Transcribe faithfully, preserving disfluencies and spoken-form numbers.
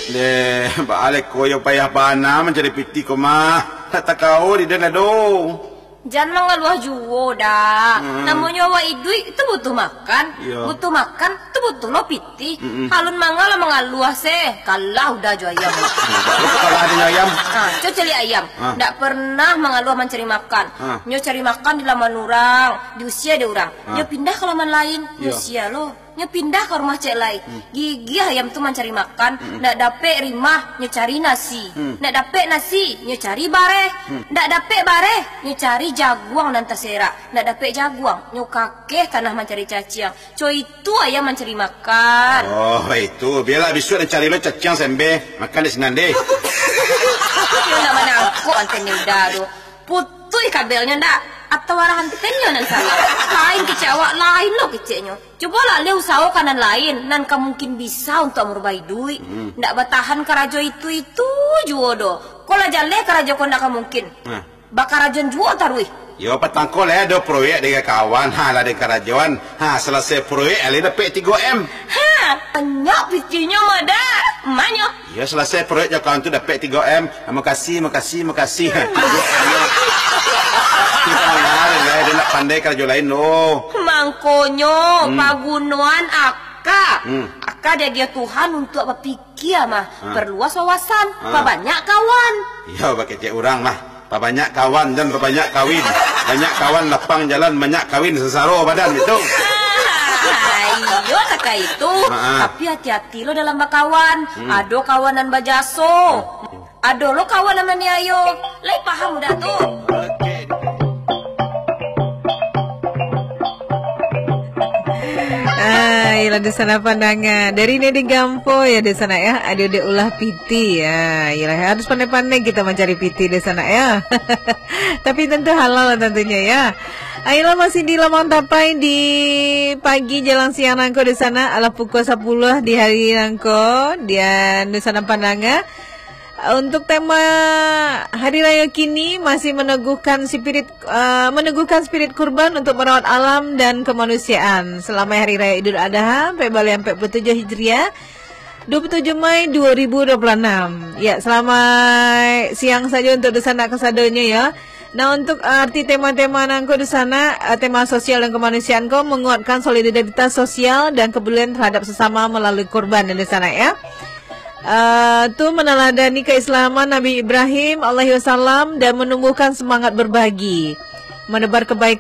Deh, baa lai ko yo payah bana mancari pitih ko mah. Tak takao di den ado. Jan mangaluah juo, Dak. Hmm. Namonyo awak iduik tu butuh makan. Iyo. Butuh makan tu butuh lo pitih. Mm-mm. Alun manga lah mangaluah se. Kalah udah jo ayam. Hmm, tak lo kalah dengan ayam. Ha, co caliak ayam. Ha. Ndak pernah mangaluah mancari makan. Ha. Nyo cari makan di laman urang, diusia dek urang. Ha. Nyo pindah ka laman lain, Iyo. diusia lo. Nyo pindah ka rumah cek lai. Hmm. Gigiah ayam tu mancari makan, Mm-mm. ndak dapek rimah, nyo cari nasi. Hmm. Ndak dapek nasi, nyo cari bareh. Hmm. Ndak dapek bareh, nyo cari jaguang nan taserak. Ndak dapek jaguang, nyo kakeh tanah mancari caciang. Co itu ayam mancari makan. Oh, itu. Bialah bisuak den cari lo caciang sembeh. Makan di sinan deh. Iyo ndak manangkok anten ni udah tu. Putuih kabelnyo ndak? Atau arah antenna nan salah? Lain kecek awak, lain lo keceknyo. Cubolah leh usahokan nan lain, nan ka mungkin bisa untuak marubah iduik. Hmm. Ndak batahan karajo itu-itu juo doh. Ko lah jaleh karajo ko ndak ka mungkin. Nah. Bakarajoan juo taruih. Yo, patang ko lah ado proyek dari kawan. Ha, lah dari karajoan. Ha, salasai proyek, alih dapek tigo M. Ha, banyak pikihnyo mah, Dak. Manyo. Iyo, salasai proyek jo kawan tu dapek tigo M. Ah, makasih, makasih, makasih. Kita mangaruh, ya, dia nak pandai karajo lain, loh. Mangkonyo, Hmm. pagunoan aka. Hmm. Aka diagiah Tuhan untuak bapikia mah. Ha. Perluas wawasan, Ha. pabanyak kawan. Iyo, bakecek urang mah. Pabanyak kawan dan pabanyak kawin. Banyak kawan lapang jalan, banyak kawin sasaro badan itu. Ah, iyo, takah itu. Ha, ha. Tapi hati-hati lo dalam bakawan. Hmm. Ado kawan nan bajaso. Hmm. Ado lo kawan nan maniayo. Lai paham udah tu? Oke. Ah, iyolah, di sana pandanga. Dari Nedi Gampo, ya, di sana, ya. Adik-adik ulah pitih, ya. Iyolah, harus pandai-pandai kita mancari pitih di sana, ya. Tapi tentu halal lah tentunya, ya. Ayolah, masih di Lamang Tapai di pagi jalang siang nangko di sana. Alah pukul sapuluah di hari nangko. Dan di sana pandanga. Untuk tema hari raya kini masih meneguhkan spirit, eh, meneguhkan spirit kurban untuk merawat alam dan kemanusiaan. Selamat Hari Raya Idul Adha, ampek baleh ampek puluh tujuh Hijriah, dua puluh tujuh Mei dua ribu dua puluh enam. Ya, selamat siang saja untuk di sana kasadonyo, ya. Nah, untuk, eh, arti tema-tema nangko di sana, eh, tema sosial dan kemanusiaan ko menguatkan solidaritas sosial dan kepedulian terhadap sesama melalui kurban di sana, ya. Eh, tu meneladani keislaman Nabi Ibrahim alaihi wasallam dan menumbuhkan semangat berbagi, menebar kebaikan